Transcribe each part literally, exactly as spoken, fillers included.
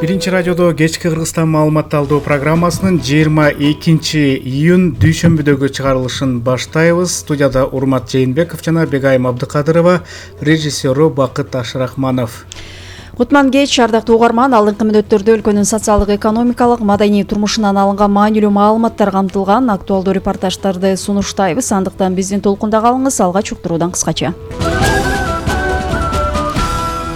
Биринчи радиодо кечки Кыргызстан маалымат алуу программасынын жыйырма экинчи июнь дүйшөмбүдөгү чыгарылышын баштайбыз. Студияда Урмат Жээнбеков жана Бегайым Абдыкадырова, режиссеру Бакыт Ашрахманов. Кутман кеч, ардактуу угарман. Алдыңкы мүнөттөрдө өлкөнүн социалдык, экономикалык, маданий турмушунан алынган маанилүү маалыматтар камтылган актуалдуу репортаждарды сунуштайбыз. Андыктан биздин толкунда калыңыз. Алгач уктуруудан кыскача.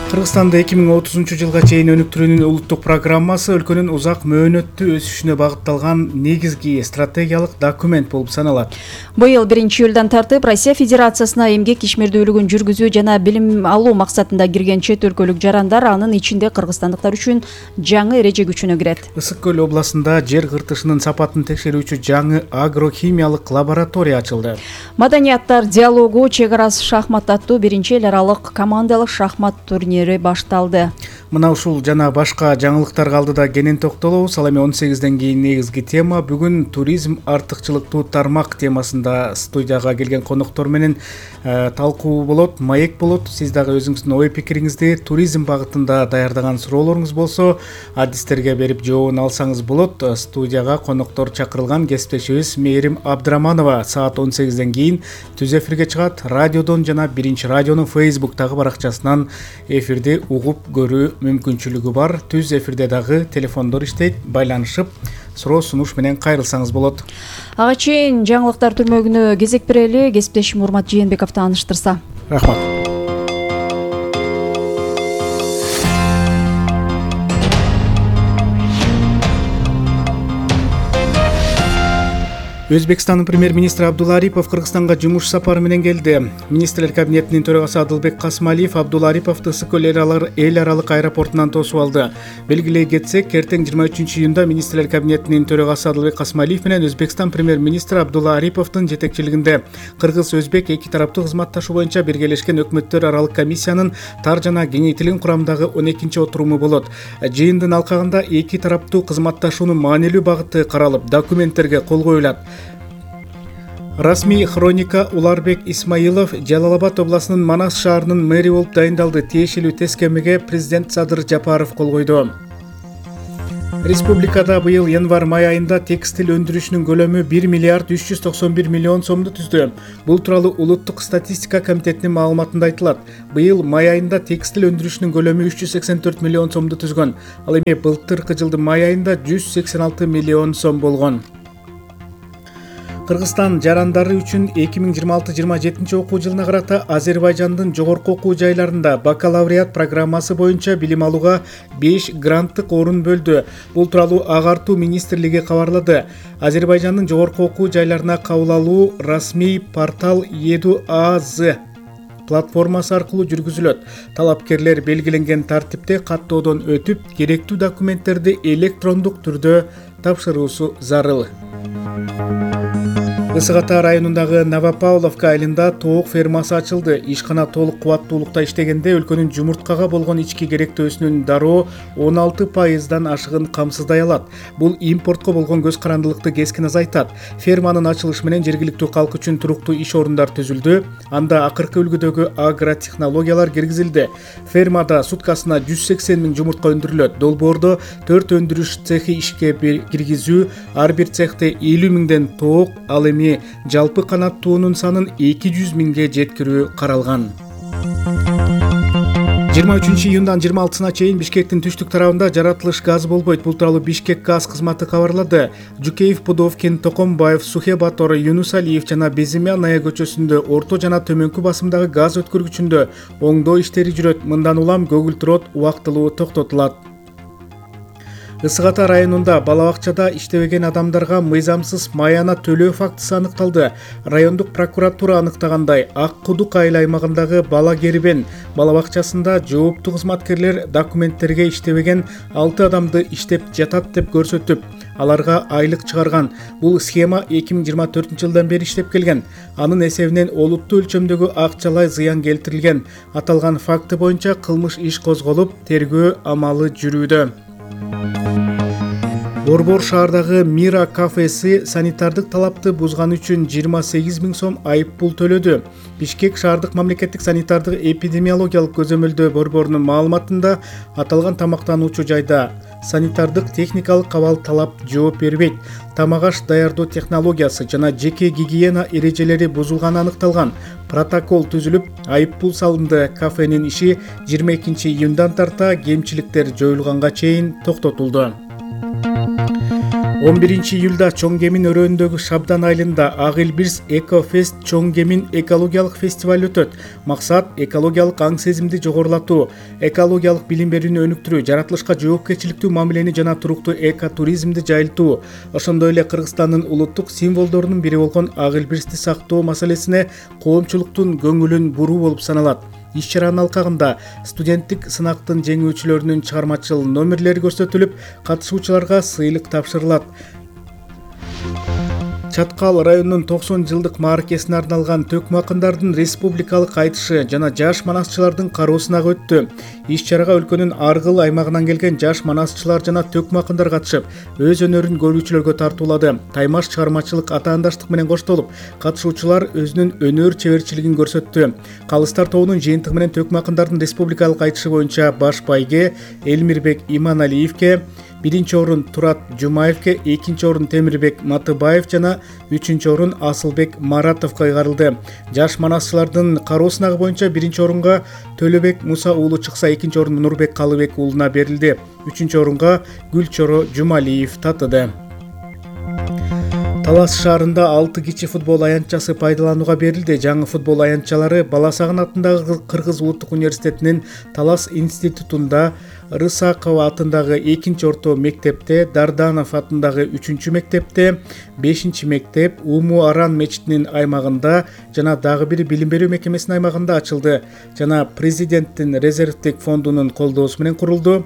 Кыргызстанда эки миң отузунчу жылга чейин өнүктүрүүнүн улуттук программасы өлкөнүн узак мөөнөттүү өсүшүнө багытталган негизги стратегиялык документ болуп саналат. Быйыл биринчи июлдан тартып Россия Федерациясына эмгек ишмердүүлүгүн жүргүзүү жана билим алуу максатында кирген чет өлкөлүк жарандар, анын ичинде кыргызстандыктар үчүн жаңы эреже күчүнө кирет. Ысык көл областында жер кыртышынын сапатын текшерүүчү жаңы агрохимиялык лаборатория ачылды. Маданияттар диалогу чек арасы шахмат аттуу биринчи эл аралык командалык шахмат турнири башталды. Мына ушул жана башка жаңылыктарга алдыда кенен токтолобуз. Ал эми он сегизден кийин негизги тема бүгүн туризм артыкчылыктуу тармак темасында студияга келген коноктор менен э, талкуу болот, маек болот. Сиз дагы өзүңүздүн ой пикириңизди туризм багытында даярдаган суроолоруңуз болсо, адистерге берип жообун алсаңыз болот. Студияга коноктор чакырылган кесиптешибиз Мээрим Абдыраманова саат он сегизден кийин түз эфирге чыгат. Радиодон жана биринчи радионун фейсбуктагы баракчасынан эфирди угуп көрүү мүмкүнчүлүгү бар. Түз эфирде дагы телефондор иштейт. Байланышып суроо сунуш менен кайрылсаңыз болот. Ага чейин жаңылыктар түрмөгүнө кезек берели. Кесиптешим Урмат Жээнбеков тааныштырса. Рахмат. Өзбекстандын премьер-министри Абдулла Арипов Кыргызстанга жумуш сапары менен келди. Министрлер кабинетинин төрагасы Адылбек Касмалиев Абдулла Ариповду Ысык көл эл аралык аэропортунан тосуп алды. Белгилей кетсек, эртең жыйырма үчүнчү июнда министрлер кабинетинин төрагасы Адылбек Касмалиев менен Өзбекстан премьер-министри Абдулла Ариповдун жетекчилигинде кыргыз-өзбек эки тараптуу кызматташуу боюнча биргелешкен өкмөттөр аралык комиссиянын тар жана кеңейтилген курамдагы он экинчи отуруму болот. Жыйындын алкагында эки тараптуу кызматташуунун маанилүү багыты каралып, документтерге кол коюлат. Расмий хроника Уларбек Исмаилов Жалал-Абад областынын Манас шаарынын мэри болуп дайындалды. Тиешелүү тескемеге президент Садыр Жапаров кол койду. Республикада быйыл январь-май айында текстиль өндүрүшүнүн көлөмү бир миллиард үч жүз токсон бир миллион сомду түздү. Бул тууралуу Улуттук статистика комитетинин маалыматында айтылат. Быйыл май айында текстиль өндүрүшүнүн көлөмү үч жүз сексен төрт миллион сомду түзгөн. Ал эми былтыркы жылдын май айында жүз сексен алты миллион сом болгон. Кыргызстан жарандары үчүн эки миң жыйырма алты жыйырма жетинчи окуу жылына карата Азербайжандын жогорку окуу жайларында бакалавриат программасы боюнча билим алууга беш гранттык орун бөлдү. Бул тууралуу Агартуу министрлиги кабарлады. Азербайжандын жогорку окуу жайларына кабыл алуу расмий портал Еду АЗ платформасы аркылуу жүргүзүлөт. Талапкерлер белгиленген тартипте каттоодон өтүп, керектүү документтерди электрондук түрдө тапшыруусу зарыл. Ысык Ата районундагы Новопавловка айылында тоок фермасы ачылды. Ишкана толук кубаттуулукта иштегенде өлкөнүн жумурткага болгон ички керектөөсүнүн дароо он алты пайыздан ашыгын камсыздай алат. Бул импортко болгон көз карандылыкты кескин азайтат. Ферманын ачылышы менен жергиликтүү калк үчүн туруктуу иш орундар түзүлдү. Анда акыркы үлгүдөгү агротехнологиялар киргизилди. Фермада суткасына жүз сексен миң жумуртка өндүрүлөт. Долбоордо төрт өндүрүш цехи ишке киргизүү, ар бир цехте элүү миңден тоок, ал эми жалпы канаттуунун санын эки жүз миңге жеткирүү каралган. жыйырма үчүнчү июндан жыйырма алтысына чейин Бишкектин түштүк тарабында жаратылыш газ болбойт. Бул тууралуу Бишкек газ кызматы кабарлады. Жукеев, Пудовкин, Токомбаев, Сухебатор, Юнусалиев жана Безимянная көчөсүндө орто жана төмөнкү басымдагы газ өткөргүчүндө оңдоо иштери жүрөт. Мындан улам көгүлтүр от убактылуу токтотулат. Ысык Ата районунда бала бакчада иштебеген адамдарга мыйзамсыз маяна төлөө фактысы аныкталды. Райондук прокуратура аныктагандай, Ак Кудук айыл аймагындагы Бала Кербен бала бакчасында жооптуу кызматкерлер документтерге иштебеген алты адамды иштеп жатат деп көрсөтүп, аларга айлык чыгарган. Бул схема эки миң жыйырма төртүнчү жылдан бери иштеп келген. Анын эсебинен олуттуу өлчөмдөгү акчалай зыян келтирилген. Аталган факты боюнча кылмыш иш козголуп, тергөө амалы жүрүүдө. Борбор шаардагы Мира кафеси санитардык талапты бузганы үчүн жыйырма сегиз миң сом айып пул төлөдү. Бишкек шаардык мамлекеттик санитардык эпидемиологиялык көзөмөлдөө борборунун маалыматында аталган тамактануучу жайда санитардык техникалык абал талап жооп бербейт. Тамак аш даярдоо технологиясы жана жеке гигиена эрежелери бузулганы аныкталган. Протокол түзүлүп, айыппул салынды. Кафенин иши жыйырма экинчи июндан тарта кемчиликтер жоюлганга чейин токтотулду. он биринчи июлда Чоң Кемин өрөөндөгү Шабдан айылында Ак эл Бирс Эко Фест Чоң Кемин экологиялык фестиваль өтөт. Максат экологиялык аң сезимди жогорулатуу, экологиялык билим берүүнү өнүктүрүү, жаратылышка жоопкерчиликтүү мамилени жана туруктуу экотуризмди жайылтуу. Ошондой эле Кыргызстандын улуттук символдорунун бири болгон Ак эл Бирсти сактоо маселесине коомчулуктун көңүлүн буруу болуп саналат. Иш-чаранын алкагында студенттик сынактын жеңүүчүлөрүнүн чыгармачыл номерлери көрсөтүлүп, катышуучуларга сыйлык тапшырылат. Чаткал районунун токсон жылдык мааракесине арналган төкмө акындардын республикалык айтышы жана жаш манасчылардын кароосуна өттү. Иш-чарага өлкөнүн ар кыл аймагынан келген жаш манасчылар жана төкмө акындар катышып, өз өнөрүн көрүүчүлөргө тартуулады. Таймаш чыгармачылык атаандаштык менен коштолуп, катышуучулар өзүнүн өнөр чеберчилигин көрсөттү. Калыстар тобунун жыйынтыгы менен төкмө акындардын республикалык айтышы боюнча баш байге Элмирбек Иманалиевке, биринчи орун Турат Жумаевке, экинчи орун Темирбек Матыбаев жана үчүнчү орун Асылбек Маратовго ыйгарылды. Жаш манасчылардын кароосунагы боюнча биринчи орунга Төлөбек Муса уулу чыкса, экинчи орун Нурбек Калыбек уулуна берилди. Үчүнчү орунга Гүлчоро Жумалиев татыды. Талас шаарында алты кичи футбол аянтчасы пайдаланууга берилди. Жаңы футбол аянтчалары Баласагын атындагы Кыргыз улуттук университетинин Талас институтунда, Рысакова атындагы экинчи орто мектепте, Дарданов атындагы үчүнчү мектепте, бешинчи мектеп, Уму Аран мечитинин аймагында жана дагы бир билим берүү мекемесинин аймагында ачылды. Жана президенттин резервдик фондунун колдоосу менен курулду.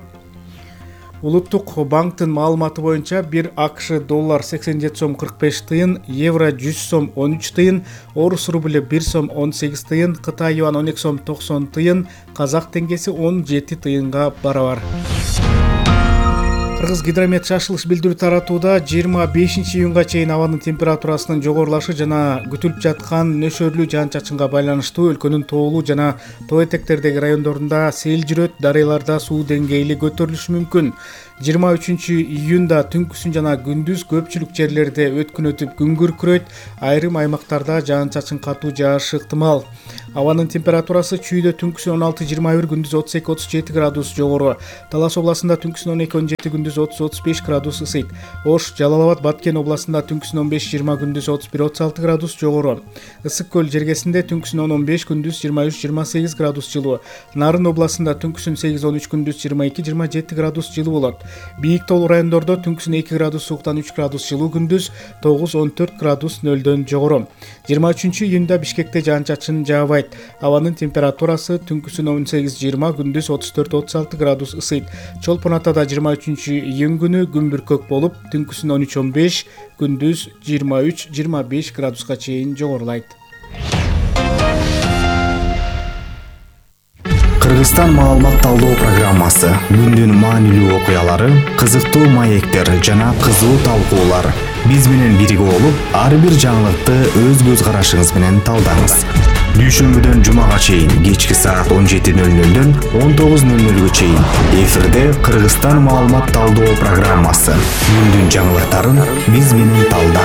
Улуттук банктын маалыматы боюнча бир АКШ доллар сексен жети сом кырк беш тыйын, евро жүз сом он үч тыйын, орус рубль бир сом он сегиз тыйын, Кытай юан он эки сом токсон тыйын, казак теңгеси он жети тыйынга барабар. Кыргыз гидромет шашылыш билдирүү таратууда жыйырма бешинчи июнга чейин абанын температурасынын жогорулашы жана күтүлүп жаткан нөшөрлүү жаан-чачынга байланыштуу өлкөнүн тоолуу жана тоо этектердеги райондорунда сел жүрөт, дарыяларда суу деңгээли көтөрүлүшү мүмкүн. жыйырма үчүнчү июнда түнкүсүн жана күндүз көпчүлүк жерлерде өткүн өтүп күн күркүрөйт, айрым аймактарда жаан-чачын катуу жаашы ыктымал. Абанын температурасы чүйдө түнкүсүн он алты жыйырма бир, күндүз отуз эки отуз жети градус жогору. Талас областында түнкүсүн он эки он жети, күндүз отуз отуз беш градус ысыйт. Ош, Жалал Абад, Баткен областында түнкүсүн он беш жыйырма, күндүз отуз бир отуз алты градус жогору. Ысык көл жергесинде түнкүсүн он он беш, күндүз жыйырма үч жыйырма сегиз градус жылуу. Нарын областында түнкүсүн сегиз он үч, күндүз жыйырма эки жыйырма жети градус жылуу болот. Бийик тоолуу райондордо түнкүсүн эки градус сууктан үч градус жылуу, күндүз тогуз он төрт градус нөлдөн жогору. жыйырма үчүнчү июнда Бишкекте жаан-чачын жаабайт. Абанын температурасы түнкүсүн он сегиз жыйырма, күндүз отуз төрт отуз алты градус ысыйт. Чолпон Атада жыйырма үчүнчү июнь күнү күн бүркөк болуп, түнкүсүн он үч он беш, күндүз жыйырма үч жыйырма беш градуска чейин жогорулайт. Кыргызстан маалымат талдоо программасы, күндүн маанилүү окуялары, кызыктуу маектер жана кызуу талкуулар. Биз менен бирге болуп, ар бир жаңылыкты өз көз карашыңыз менен талдаңыз. Дүйшөмбүдөн жумага чейин кечки саат он жети нөл нөлдөн он тогуз нөл нөлгө чейин эфирде Кыргызстан маалымат талдоо программасы. Күндүн жаңылыктарын биз менен талда.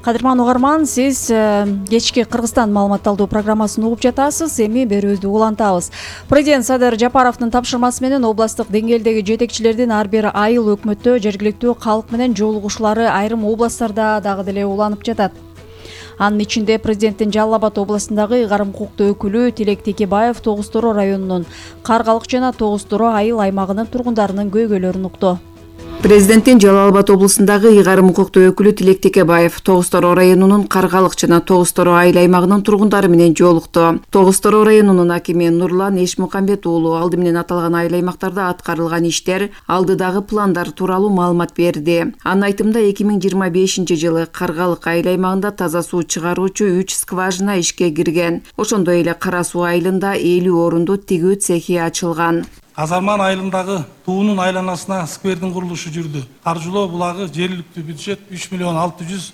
Кадырман угарман, сиз кечки Кыргызстан маалымат талдоо программасын угуп жатасыз. Эми берүүбүздү улантабыз. Президент Садыр Жапаровдун тапшырмасы менен областтык деңгээлдеги жетекчилердин ар бир айыл өкмөттө жергиликтүү калк менен жолугушуулары айрым областтарда дагы деле уланып жатат. Анын ичинде президенттин Жалал Абад областындагы ыйгарым укуктуу өкүлү Тилек Текебаев Тогуз Торо районунун Каргалык жана Тогуз Торо айыл аймагынын тургундарынын көйгөйлөрүн укту. Президенттин Жалал Абад областындагы ыйгарым укуктуу өкүлү Тилек Текебаев Тогуз Торо районунун Каргалык жана Тогуз Торо айыл аймагынын тургундары менен жолукту. Тогуз Торо районунун акими Нурлан Эшмукамбет уулу алды менен аталган айыл аймактарда аткарылган иштер, алдыдагы пландар тууралуу маалымат берди. Анын айтымында эки миң жыйырма бешинчи жылы Каргалык айыл аймагында таза суу чыгаруучу үч скважина ишке кирген. Ошондой эле Кара суу айылында элүү орундуу тигүү цехи ачылган. Азарман айылындагы туунун айланасына сквердин курулушу жүрдү. Каржылоо булагы жергиликтүү бюджет үч миллион алты жүз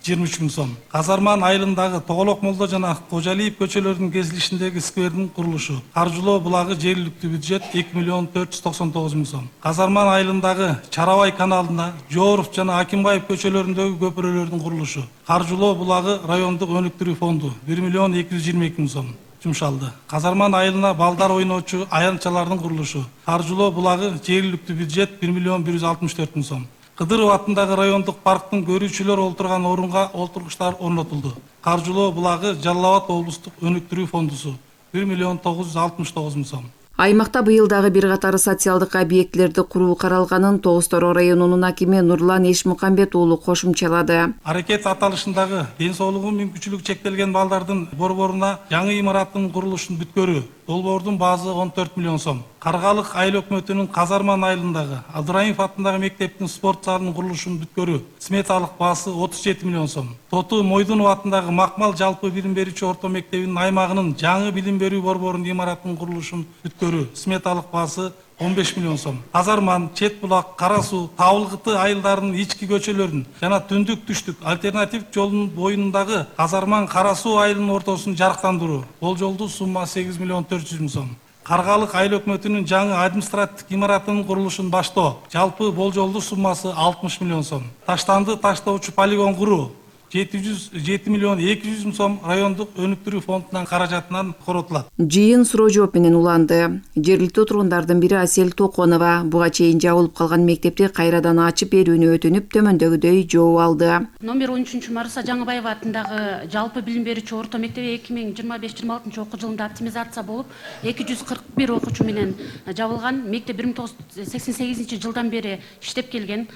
жыйырма үч миң сом. Казарман айылындагы Тоголок Молдо жана Кожалиев көчөлөрүнүн кесилишиндеги сквердин курулушу. Каржылоо булагы жергиликтүү бюджет эки миллион төрт жүз токсон тогуз миң сом. Казарман айылындагы Чарабай каналына Жооров жана Акимбаев көчөлөрүндөгү көпүрөлөрдүн курулушу. Каржылоо булагы райондук өнүктүрүү фонду бир миллион эки жүз жыйырма эки миң сом жумшалды. Казарман айылына балдар ойноочу аянтчалардын курулушу. Каржылоо булагы жергиликтүү бюджет бир миллион бир жүз алтымыш төрт миң сом. Кыдыров атындагы райондук парктын көрүүчүлөр олтурган орунга олтургучтар орнотулду. Каржылоо булагы Жалал Абад облустук өнүктүрүү фондусу бир миллион тогуз жүз алтымыш тогуз миң сом. Аймакта быйыл дагы бир катар социалдык объектилерди куруу каралганын Тогуз Тороо районунун акими Нурлан Эшмукамбет уулу кошумчалады. Аракет аталышындагы ден соолугу мүмкүнчүлүгү чектелген балдардын борборуна жаңы имараттын курулушун бүткөрүү. Долбоордун баазы он төрт миллион сом. Каргалык айыл өкмөтүнүн Казарман айылындагы Абдыраимов атындагы мектептин спорт залынын курулушун бүткөрүү. Сметалык баасы отуз жети миллион сом. Тоту Мойдунов атындагы Макмал жалпы билим берүүчү орто мектебинин аймагынын жаңы билим берүү борборунун имараттын курулушун бүткөрүү. Сметалык баасы он беш миллион сом. Казарман, Чет булак, Кара суу, Табылгыты айылдарынын ички көчөлөрүн жана түндүк түштүк альтернатив жолдун боюндагы Казарман, Кара суу айылынын ортосун жарыктандыруу. Болжолдуу сумма сегиз миллион төрт жүз миң сом. Каргалык айыл өкмөтүнүн жаңы административдик имаратынын курулушун баштоо. Жалпы болжолдуу суммасы алтымыш миллион сом. Таштанды таштоочу полигон куруу жети жүз жети миллион эки жүз миң сом райондук өнүктүрүү фондунан каражатынан коротулат. Жыйын суроо жооп менен уланды. Жергиликтүү тургундардын бири Асель Токонова буга чейин жабылып калган мектепти кайрадан ачып берүүнү өтүнүп, төмөндөгүдөй жооп алды. Номер он үчүнчү Маруса Жаңыбаева атындагы жалпы билим берүүчү орто мектеби эки миң жыйырма беш жыйырма алтынчы окуу жылында оптимизация болуп, эки жүз кырк бир окуучу менен жабылган. Мектеп бир миң тогуз жүз сексен сегизинчи жылдан бери иштеп келген.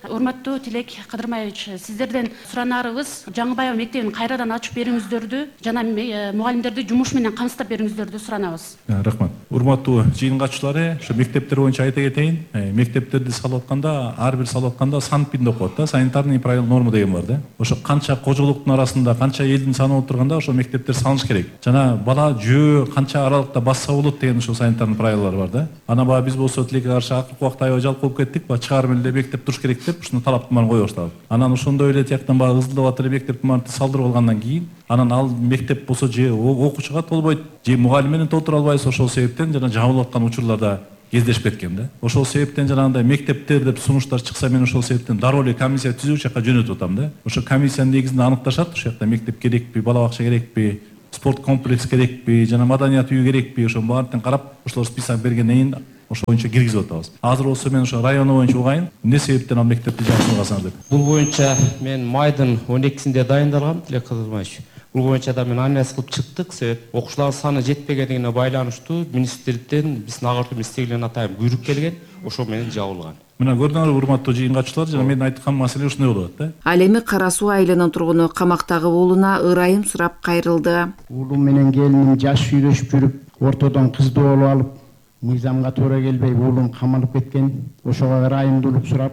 Урматтуу Тилек Кадырмаевич, сиздерден суранарыбыз Жаңыбаева мектебин кайрадан ачып берүүңүздөрдү жана мугалимдерди жумуш менен камсыздап берүүңүздөрдү суранабыз. Рахмат. Урматтуу жыйын катчылары, ошо мектептер боюнча айта кетейин. Мектептерди салып атканда, ар бир салып атканда санпинде окуат да, санитарный правила норма деген бар да. Ошо канча кожолуктун арасында, канча элдин саны болуп турганда ошо мектептер салыныш керек. Жана бала жөө канча аралыкта басса болот деген ошо санитарный правилалар бар да. Ана баа биз болсо тилекке каршы акыркы убакта аябай жалп болуп кеттик, ба чыгарым эле мектеп туруш керек деп ушуну талаптын баарын кое баштадык. Анан ошондой эле тияктан баягы ызылдап атыр мектептин баарын салдырып алгандан кийин, анан ал мектеп болсо же окуучуга толбойт, же мугалим менен толтура албайбыз. Ошол себептен жана жабылып аткан учурларда кездешип кеткен да. Ошол себептен жанагындай мектептер деп сунуштар чыкса, мен ошол себептен дароо эле комиссия түзүп ошол жака жөнөтүп атам да. Ошо комиссиянын негизинде аныкташат, ошол жакта мектеп керекпи, бала бакча керекпи, спорт комплекс керекпи, жана маданият үйү керекпи, ошо баарын карап, ошолор список бергенден кийин ошо боюнча киргизип атабыз. Азыр болсо мен ошо району боюнча угайын, эмне себептен ал мектепти жакшыртасыңар деп. Бул боюнча мен майдын он экисинде дайындалгам, Тилек Кадырмаевич. Бул боюнча да мен анализ кылып чыктык. Себеп окуучулардын саны жетпегендигине байланыштуу министрликтен биздин агартуу министрлигинен атайын буйрук келген, ошо менен жабылган. Мына көрдүңөр урматтуу жыйын катчылар, жана мен айткан маселе ушундай болуп атат да. Ал эми Кара суу айылынын тургуну камактагы уулуна ырайым сурап кайрылды. Уулум менен келиним жаш үйлөшүп жүрүп, ортодон кызды болуп алып, мыйзамга туура келбей уулум камалып кеткен. Ошого ырайымдуулук сурап,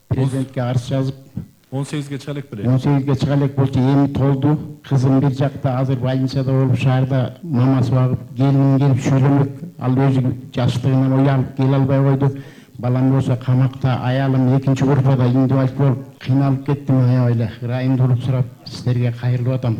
президентке арыз жазып, он сегизге чыга элек беле. он сегизге чыга элек болчу, эми толду. Кызым бир жакта азыр больницада болуп, шаарда мамасы багып, келиним келип сүйлөмөк, ал өзү жаштыгынан уялып келе албай койду. Балам болсо камакта, аялым экинчи группада инвалид болуп кыйналып кеттим. Аябай эле ырайымдуулук сурап сиздерге кайрылып атам.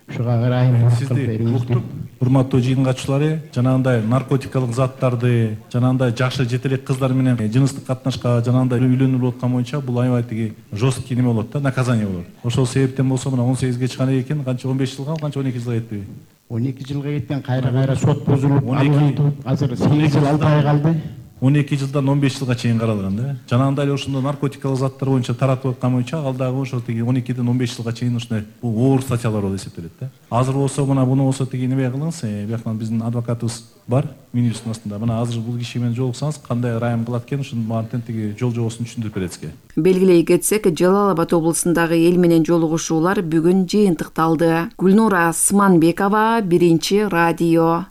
Ушуга ырайымдуулук кылып бериңиз. Урматтуу жыйын катчылары, жанагындай наркотикалык заттарды, жанагындай жашы жетелек кыздар менен жыныстык катнашка, жанагындай үйлөнүлүп аткан боюнча бул аябай тиги жесткий неме болот да, наказание болот. Ошол себептен болсо мына он сегизге чыган экен, канча он беш жылга, канча он эки жылга кетпеби? он эки жылга кеткен, кайра-кайра сот бузулуп, алынды. Азыр сегиз жыл алты ай калды. он эки жылдан он беш жылга чейин каралган да. Жанагындай эле ошондо наркотикалык заттар боюнча таратып аткан боюнча ал дагы ошо тиги он экиден он беш жылга чейин ушундай бул оор статьялар болуп эсептелет да. Азыр болсо мына буну болсо тиги неме кылыңыз, бияктан биздин адвокатыбыз бар, министрдин астында. Мына азыр бул киши менен жолуксаңыз, кандай ырайым кылат экен, ушунун баарын тиги жол жобосун түшүндүрүп берет сизге. Белгилей кетсек, Жалал Абад облусундагы эл менен жолугушуулар бүгүн жыйынтыкталды. Гүлнура Сманбекова, Биринчи радио.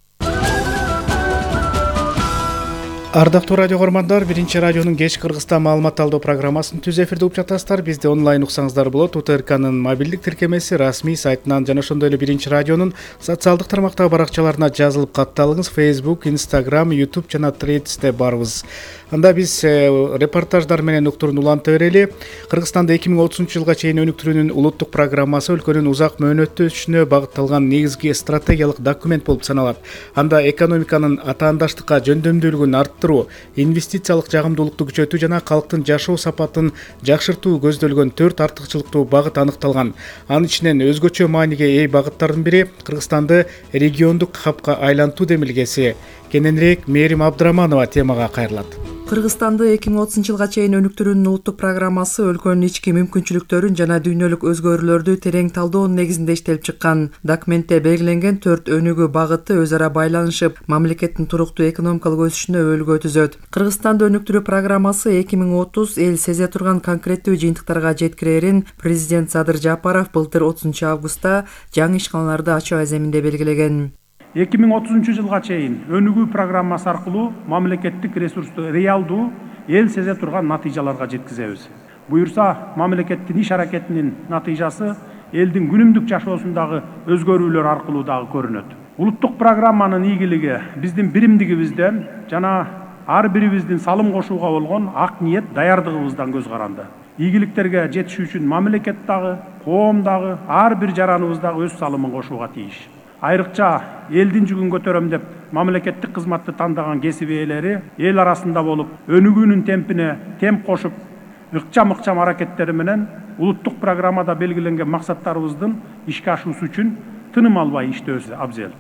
Ардактуу радио көрмандар, биринчи радионун кеч Кыргызстан маалымат алуу программасын түз эфирде угуп жатасыздар. Бизди онлайн уксаңыздар болот. УТРКнын мобилдик тиркемеси, расмий сайтынан жана ошондой эле биринчи радионун социалдык тармактагы баракчаларына жазылып катталыңыз. Facebook, Instagram, YouTube жана Threads'те барбыз. Анда биз репортаждар менен уктурууну уланта берели. Кыргызстанда эки миң отузунчу жылга чейин өнүктүрүүнүн улуттук программасы өлкөнүн узак мөөнөттүү өсүшүнө багытталган негизги стратегиялык документ болуп саналат. Анда экономиканын атаандаштыкка жөндөмдүүлүгүн арттыруу, инвестициялык жагымдуулукту күчөтүү жана калктын жашоо сапатын жакшыртуу көздөлгөн төрт артыкчылыктуу багыт аныкталган. Анын ичинен өзгөчө мааниге ээ багыттардын бири Кыргызстанды региондук хабка айлантуу демилгеси. Кененирээк Мээрим Абдыраманова темага кайрылат. Кыргызстанды эки миң отузунчу жылга чейин өнүктүрүүнүн улуттук программасы өлкөнүн ички мүмкүнчүлүктөрүн жана дүйнөлүк өзгөрүүлөрдү терең талдоонун негизинде иштелип чыккан. Документте белгиленген төрт өнүгүү багыты өз ара байланышып, мамлекеттин туруктуу экономикалык өсүшүнө өбөлгө түзөт. Кыргызстанды өнүктүрүү программасы эки миң отуз эл сезе турган конкреттүү жыйынтыктарга жеткирерин президент Садыр Жапаров былтыр отузунчу августта жаңы ишканаларды ачуу аземинде белгилеген. эки миң отузунчу жылга чейин өнүгүү программасы аркылуу мамлекеттик ресурсту реалдуу эл сезе турган натыйжаларга жеткизебиз. Буюрса, мамлекеттин иш аракетинин натыйжасы элдин күнүмдүк жашоосундагы өзгөрүүлөр аркылуу дагы көрүнөт. Улуттук программанын ийгилиги биздин биримдигибизден жана ар бирибиздин салым кошууга болгон ак ниет, даярдыгыбыздан көз каранды. Ийгиликтерге жетишүү үчүн мамлекет дагы, коом дагы, ар бир жараныбыз дагы өз салымын кошууга тийиш. Айрыкча элдин жүгүн көтөрөм деп мамлекеттик кызматты тандаган кесип ээлери эл арасында болуп, өнүгүүнүн темпине темп кошуп, ыкчам-ыкчам аракеттери менен улуттук программада белгиленген максаттарыбыздын ишке ашуусу үчүн тыным албай иштөөбүз абзел.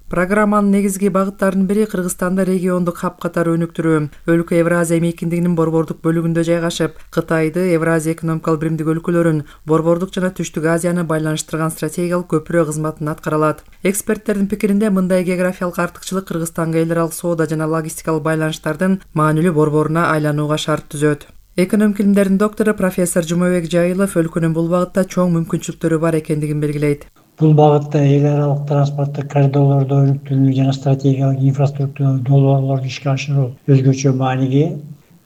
Программанын негизги багыттарынын бири Кыргызстанды региондук хаб катары өнүктүрүү. Өлкө Евразия мейкиндигинин борбордук бөлүгүндө жайгашып, Кытайды, Евразия экономикалык биримдик өлкөлөрүн, борбордук жана Түштүк Азияны байланыштырган стратегиялык көпүрө кызматын аткара алат. Эксперттердин пикиринде мындай географиялык артыкчылык Кыргызстанга эл аралык соода жана логистикалык байланыштардын маанилүү борборуна айланууга шарт түзөт. Экономик илимдердин доктору профессор Жумабек Жайылов өлкөнүн бул багытта чоң мүмкүнчүлүктөрү бар экендигин белгилейт. Бул багытта эл аралык транспорттук коридорлорду өнүктүрүү жана стратегиялык инфраструктура долбоорлорду ишке ашыруу өзгөчө мааниге.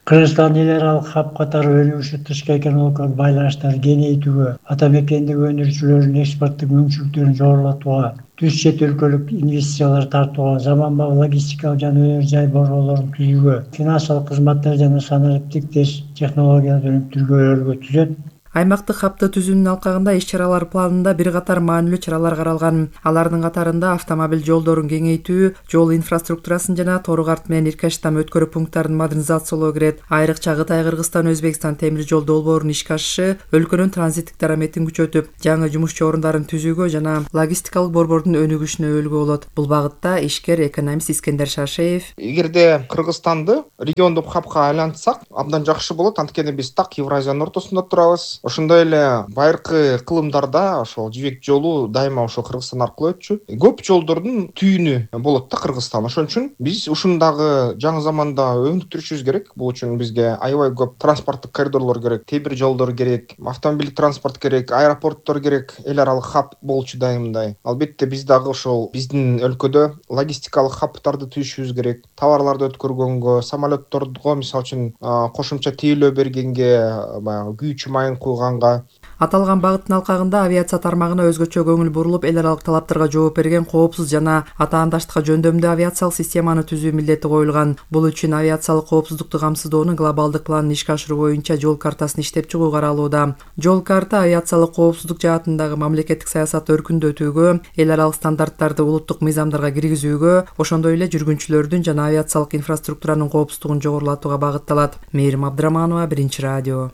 Кыргызстан эл аралык хаб катары өнүгүшү тышкы экономикалык байланыштарды кеңейтүүгө, ата мекендик өндүрүүчүлөрдүн экспорттук мүмкүнчүлүктөрүн жогорулатууга, түз чет өлкөлүк инвестициялар тартууга, заманбап логистикалык жана өнөр жай борборлорун түзүүгө, финансылык кызматтар жана санариптик технологияларды өнүктүрүүгө өргө түзөт. Аймактык хабты түзүүнүн алкагында иш-чаралар планында бир катар маанилүү чаралар каралган. Алардын катарында автомобиль жолдорун кеңейтүү, жол инфраструктурасын жана Торук-Арт менен Иркаштам өткөрүү пункттарын модернизациялоо кирет. Айрыкча Кытай, Кыргызстан, Өзбекстан темир жол долбоорунун ишке ашышы өлкөнүн транзиттик дараметин күчөтүп, жаңы жумушчу орундарын түзүүгө жана логистикалык борбордун өнүгүшүнө өбөлгө болот. Бул багытта ишкер экономист Искендер Шашеев: Эгерде Кыргызстанды региондук хабка айлантсак, абдан жакшы болот. Анткени биз так Евразиянын ортосунда турабыз. Ошондой эле байыркы кылымдарда ошол жибек жолу дайыма ошол Кыргызстан аркылуу өтчү. Көп жолдордун түйүнү болот да Кыргызстан. Ошон үчүн биз ушундагы жаңы заманда өнүктүрүшүбүз керек. Бул үчүн бизге аябай көп транспорттук коридорлор керек, темир жолдор керек, автомобиль транспорт керек, аэропорттор керек, эл аралык хаб болчу дайымдай. Албетте биз дагы ошол биздин өлкөдө логистикалык хабтарды түзүшүбүз керек. Товарларды өткөргөнгө, самолетторго мисалы үчүн кошумча тейлөө бергенге, баягы күйүүчү майын куйганга. Аталган багыттын алкагында авиация тармагына өзгөчө көңүл бурулуп, эл аралык талаптарга жооп берген коопсуз жана атаандаштыкка жөндөмдүү авиациялык системаны түзүү милдети коюлган. Бул үчүн авиациялык коопсуздукту камсыздоонун глобалдык планын ишке ашыруу боюнча жол картасын иштеп чыгуу каралууда. Жол карта авиациялык коопсуздук жаатындагы мамлекеттик саясатты өркүндөтүүгө, эл аралык стандарттарды улуттук мыйзамдарга киргизүүгө, ошондой эле жүргүнчүлөрдүн жана авиациялык инфраструктуранын коопсуздугун жогорулатууга багытталат. Мээрим Абдыраманова, Биринчи радио.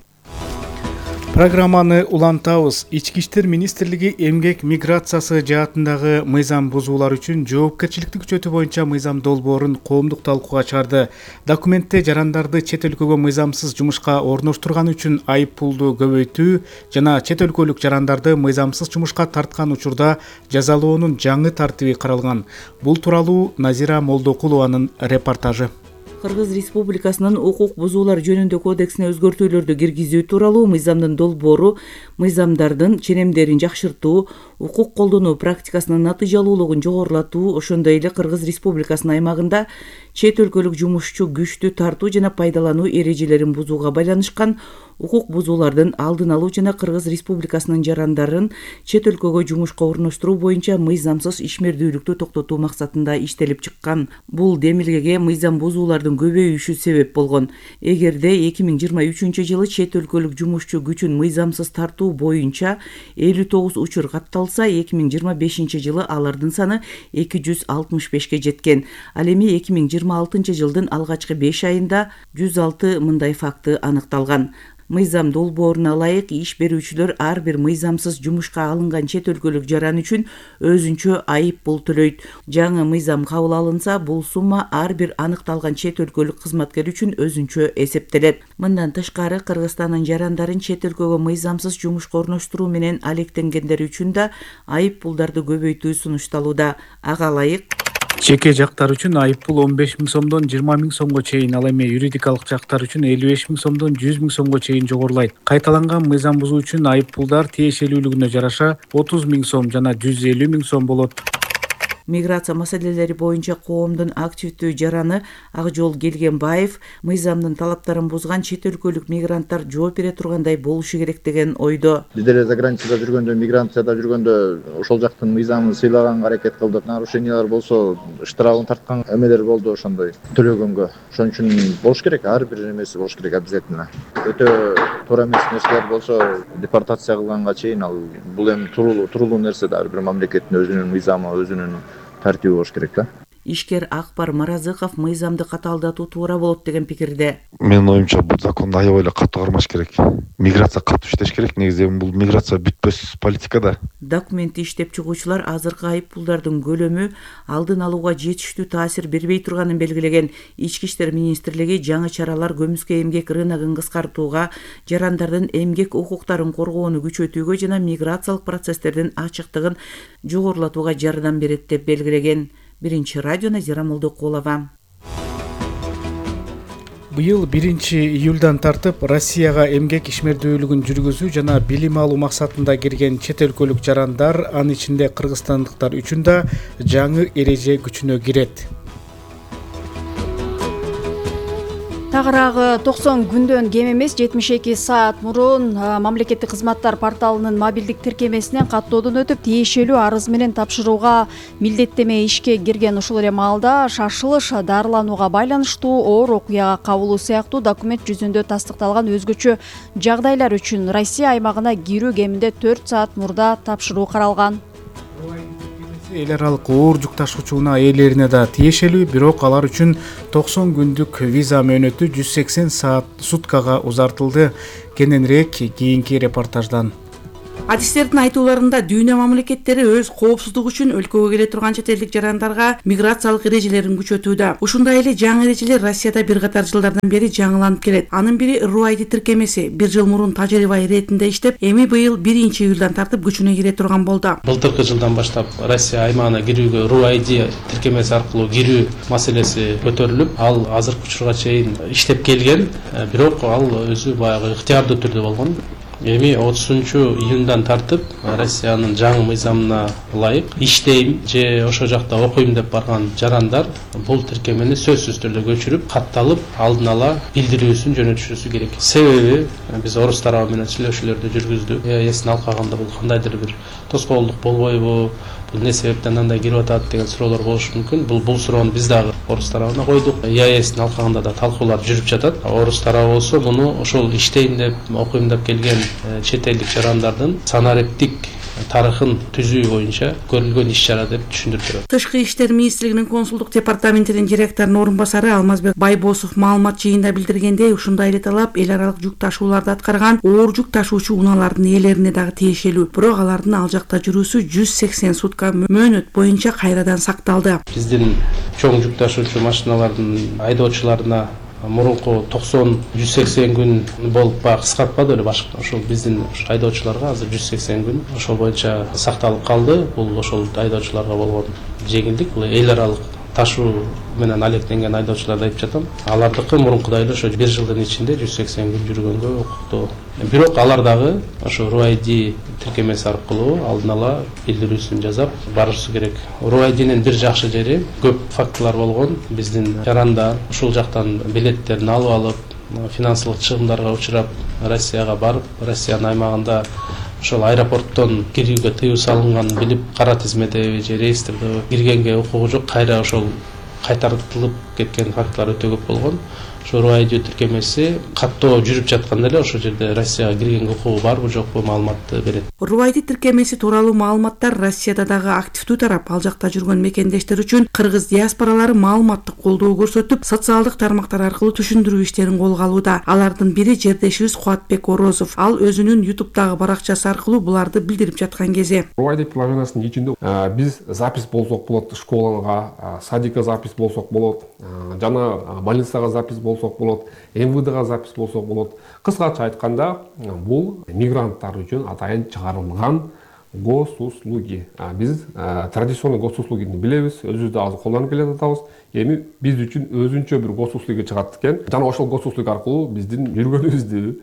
Программаны улантабыз. Ички иштер министрлиги эмгек миграциясы жаатындагы мыйзам бузуулар үчүн жоопкерчиликти күчөтүү боюнча мыйзам долбоорун коомдук талкууга чыгарды. Документте жарандарды чет өлкөгө мыйзамсыз жумушка орноштурган үчүн айып пулду көбөйтүү жана чет өлкөлүк жарандарды мыйзамсыз жумушка тарткан учурда жазалоонун жаңы тартиби каралган. Бул тууралуу Назира Молдокулованын репортажы. Кыргыз Республикасынын укук бузуулар жөнүндө кодексине өзгөртүүлөрдү киргизүү тууралуу мыйзамдын долбоору мыйзамдардын ченемдерин жакшыртуу, укук колдонуу практикасынын натыйжалуулугун жогорулатуу, ошондой эле Кыргыз Республикасынын аймагында чет өлкөлүк жумушчу күчтү тартуу жана пайдалануу эрежелерин бузууга байланышкан укук бузуулардын алдын алуу жана Кыргыз Республикасынын жарандарын чет өлкөгө жумушка орноштуруу боюнча мыйзамсыз ишмердүүлүктү токтотуу максатында иштелип чыккан. Бул демилгеге мыйзам бузуулардын көбөйүшү себеп болгон. Эгерде эки миң жыйырма үчүнчү жылы чет өлкөлүк жумушчу күчүн мыйзамсыз тартуу боюнча элүү тогуз учур катталса, эки миң жыйырма бешинчи жылы алардын саны эки жүз алтымыш бешке жеткен. Ал эми эки миң жыйырма алтынчы жылдын алгачкы беш айында жүз алты мындай факты аныкталган. Мыйзам долбооруна ылайык иш берүүчүлөр ар бир мыйзамсыз жумушка алынган чет өлкөлүк жаран үчүн өзүнчө айып пул төлөйт. Жаңы мыйзам кабыл алынса, бул сумма ар бир аныкталган чет өлкөлүк кызматкер үчүн өзүнчө эсептелет. Мындан тышкары Кыргызстандын жарандарын чет өлкөгө мыйзамсыз жумушка орноштуруу менен алектенгендер үчүн да айып пулдарды көбөйтүү сунушталууда. Ага ылайык жеке жактар үчүн айып пул он беш миң сомдон жыйырма миң сомго чейин, ал эми юридикалык жактар үчүн элүү беш миң сомдон жүз миң сомго чейин жогорулайт. Кайталанган мыйзам бузуу үчүн айып пулдар тиешелүүлүгүнө жараша отуз миң сом жана жүз элүү миң сом болот. Миграция маселелери боюнча коомдун активдүү жараны Акжол Келгенбаев мыйзамдын талаптарын бузган чет өлкөлүк мигранттар жооп бере тургандай болушу керек деген ойдо. Биз деле заграницада жүргөндө, миграцияда жүргөндө ошол жактын мыйзамын сыйлаганга аракет кылдык. Нарушениялар болсо, штрафын тарткан эмелер болду ошондой төлөгөнгө. Ошон үчүн болуш керек, ар бир эмеси болуш керек обязательно. Өтө туура эмес нерселер болсо, депортация кылганга чейин ал бул эми туруулуу, туруулуу нерсе да, ар бир мамлекеттин өзүнүн мыйзамы, өзүнүн тартиби болуш керек да. Ишкер Акбар Маразыков мыйзамды катаалдатуу туура болот деген пикирде. Менин оюмча бул законду аябай эле катуу кармаш керек. Миграция катуу иштеш керек. Негизи бул миграция бүтпөс политика да. Документти иштеп чыгуучулар азыркы айып пулдардын көлөмү алдын алууга жетиштүү таасир бербей турганын белгилеген. Ички иштер министрлиги жаңы чаралар көмүскө эмгек рыногун кыскартууга, жарандардын эмгек укуктарын коргоону күчөтүүгө жана миграциялык процесстердин ачыктыгын жогорулатууга жардам берет деп белгилеген. Биринчи радио Назира Молдокулова. Быйыл биринчи июлдан тартып Россияга эмгек ишмердүүлүгүн жүргүзүү жана билим алуу максатында кирген чет өлкөлүк жарандар, анын ичинде кыргызстандыктар үчүн да жаңы эреже күчүнө кирет. Тагыраагы токсон күндөн кем эмес жетимиш эки саат мурун мамлекеттик кызматтар порталынын мобилдик тиркемесинен каттоодон өтүп тиешелүү арыз менен тапшырууга милдеттеме ишке кирген. Ушул эле маалда шашылыш дарыланууга байланыштуу оор окуяга кабылуу сыяктуу документ жүзүндө тастыкталган өзгөчө жагдайлар үчүн Россия аймагына кирүү кеминде төрт саат мурда тапшыруу каралган. Эл аралык оор жүк ташуучунун ээлерине да тиешелүү, бирок алар үчүн токсон күндүк виза мөөнөтү жүз сексен саат суткага узартылды. Кененирээк кийинки репортаждан. Адистердин айтууларында дүйнө мамлекеттери өз коопсуздугу үчүн өлкөгө келе турган чет элдик жарандарга миграциялык эрежелерин күчөтүүдө. Ушундай эле жаңы эрежелер Россияда бир катар жылдардан бери жаңыланып келет. Анын бири РУАЙД тиркемеси бир жыл мурун тажрыйба иретинде иштеп, эми быйыл биринчи июлдан тартып күчүнө кире турган болду. Былтыркы жылдан баштап Россия аймагына кирүүгө РУАЙД тиркемеси аркылуу кирүү маселеси көтөрүлүп, ал азыркы учурга чейин иштеп келген, бирок ал өзү баягы ыктыярдуу түрдө болгон. Эми отузунчу июндан тартып Россиянын жаңы мыйзамына ылайык иштейм же ошо жакта окуйм деп барган жарандар бул тиркемени сөзсүз түрдө көчүрүп, катталып, алдын ала билдирүүсүн жөнөтүшүсү керек. Себеби биз орус тарабы менен сүйлөшүүлөрдү жүргүздүк. Эсин алкаганда бул кандайдыр бир тоскоолдук болбойбу? Бул не себептен андай кирип атат деген суроолор болушу мүмкүн. Бул бул суроону биз дагы орус тарабына койдук. ЕАЭСтин алкагында да талкуулар жүрүп жатат. Орус тарабы болсо муну ошол иштейм деп, окуйм деп келген чет элдик жарандардын санариптик тарыхын түзүү боюнча көрүлгөн иш чара деп түшүндүрүп берет. Тышкы иштер министрлигинин консулдук департаментинин директорунун орун басары Алмазбек Байбосов маалымат жыйында билдиргендей, ушундай эле талап эл аралык жүк ташууларды аткарган оор жүк ташуучу унаалардын ээлерине дагы тиешелүү. Бирок алардын ал жакта жүрүүсү жүз сексен сутка мөөнөт боюнча кайрадан сакталды. Биздин чоң жүк ташуучу машиналардын айдоочуларына мурунку токсон жүз сексен күн болуп баягы кыскартпады эле башка. Ошол биздин айдоочуларга азыр жүз сексен күн ошол боюнча сакталып калды. Бул ошол айдоочуларга болгон жеңилдик, бул эл аралык ташуу менен алектенген айдоочуларды айтып жатам. Алардыкы мурункудай эле ошо бир жылдын ичинде жүз сексен күн жүргөнгө укуктуу. Бирок алар дагы ошо РУ-айди тиркемеси аркылуу алдын ала билдирүүсүн жасап барышы керек. РУ-айдинин бир жакшы жери көп фактылар болгон. Биздин жарандар ушул жактан билеттерин алып алып, финансылык чыгымдарга учурап Россияга барып, Россиянын аймагында ошол аэропорттон кирүүгө тыюу салынганын билип, кара тизмеде же реестрде киргенге укугу жок, кайра ошол кайтартылып кеткен фактылар өтө көп болгон. Ошо РУ-айди тиркемеси каттоо жүрүп жатканда эле ошол жерде Россияга киргенге укугу барбы жокпу маалыматты берет. РУ-айди тиркемеси тууралуу маалыматтар Россияда дагы активдүү тарап. Ал жакта жүргөн мекендештер үчүн кыргыз диаспоралары маалыматтык колдоо көрсөтүп, социалдык тармактар аркылуу түшүндүрүү иштерин колго алууда. Алардын бири жердешибиз Кубатбек Орозов. Ал өзүнүн ютубтагы баракчасы аркылуу буларды билдирип жаткан кези. РУ-айди приложениясынын ичинде биз запись болсок болот, школага, садикка запись болсок болот, жана больницага запись болсок болот, эм вэ дга запись болсок болот. Кыскача айтканда, бул мигранттар үчүн атайын чыгарылган госуслуги. Биз традиционный госуслугини билебиз, өзүбүз да азыр колдонуп келе жатабыз. Эми биз үчүн өзүнчө бир госуслуги чыгат экен. Жана ошол госуслуг аркылуу биздин жүргөнүбүздү,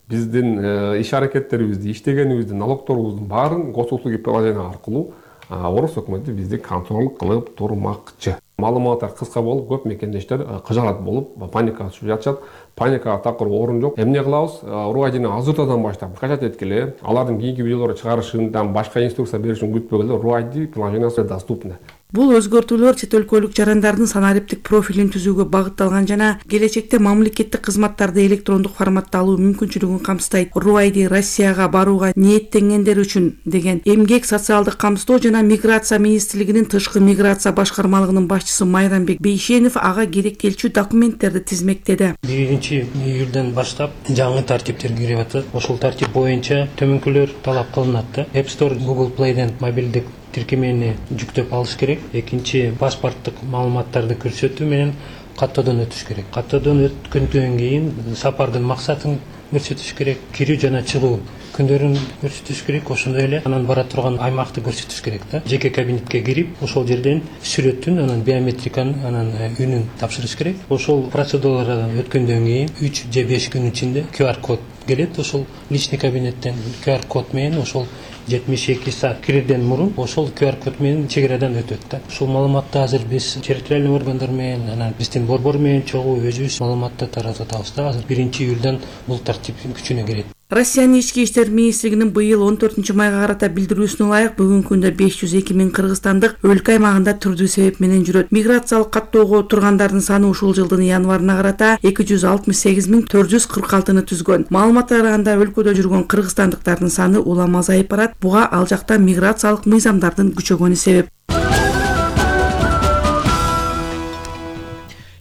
биздин иш аракеттерибизди, иштегенибизди, налогторубуздун баарын госуслуги приложение аркылуу Орус өкмөтү бизди контроль кылып турмакчы. Маалыматтар кыска болуп, көп мекендештер кыжаат болуп, паникага түшүп жатышат. Паникага такыр орун жок. Эмне кылабыз? РУ-айдини азыртадан баштап скачать эткиле, алардын кийинки видеолорду чыгарышынан башка инструкция беришин күтпөгөлө РУ-айди приложениясы доступны. Бул өзгөртүүлөр чет өлкөлүк жарандардын санариптик профилин түзүүгө багытталган жана келечекте мамлекеттик кызматтарды электрондук форматта алуу мүмкүнчүлүгүн камсыздайт. РУ-айди Россияга барууга ниеттенгендер үчүн деген Эмгек, социалдык камсыздоо жана миграция министрлигинин тышкы миграция башкармалыгынын башчысы Майрамбек Бейшенов ага керектелчү документтерди тизмектеди. биринчи июлдан баштап жаңы тартиптер кирип атат. Ошол тартип боюнча төмөнкүлөр талап кылынат да. App Store, Google Play'ден мобилдик тиркемени жүктөп алыш керек. Экинчи, паспорттук маалыматтарды көрсөтүү менен каттоодон өтүш керек. Каттоодон өткөндөн кийин сапардын максатын көрсөтүш керек, кирүү жана чыгуу күндөрүн көрсөтүш керек, ошондой эле анан бара турган аймакты көрсөтүш керек да. Жеке кабинетке кирип, ошол жерден сүрөтүн, анан биометриканын, анан үнүн тапшырыш керек. Ошол процедуралардан өткөндөн кийин үч же беш күн ичинде ку ар код келет. Ошол личный кабинеттен ку ар код менен ошол жетимиш эки саат кирүүдөн мурун ошол ку ар код менен чек арадан өтөт да. Ушул маалыматты азыр биз территориальный органдар менен, анан биздин борбор менен чогуу өзүбүз маалыматты таратып атабыз да. Азыр биринчи июлдан бул тартип күчүнө кирет. Россиянын ички иштер министрлигинин быйыл он төртүнчү майга карата билдирүүсүнө ылайык бүгүнкү күндө беш жүз эки миң кыргызстандык өлкө аймагында түрдүү себеп менен жүрөт. Миграциялык каттоого тургандардын саны ушул жылдын январына карата эки жүз алтымыш сегиз миң төрт жүз кырк алтыны түзгөн. Маалыматка караганда өлкөдө жүргөн кыргызстандыктардын саны улам азайып барат. Буга ал жакта миграциялык мыйзамдардын күчөгөнү себеп.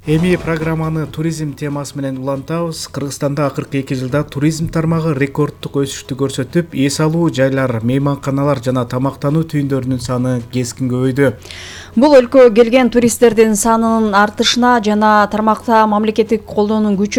Эми программаны туризм темасы менен улантабыз. Кыргызстанда акыркы эки жылда туризм тармагы рекордтук өсүштү көрсөтүп, эс алуу жайлар, мейманканалар жана тамактануу түйүндөрүнүн саны кескин көбөйдү. Бул өлкөгө келген туристтердин санынын артышына жана тармакта мамлекеттик колдоонун күчө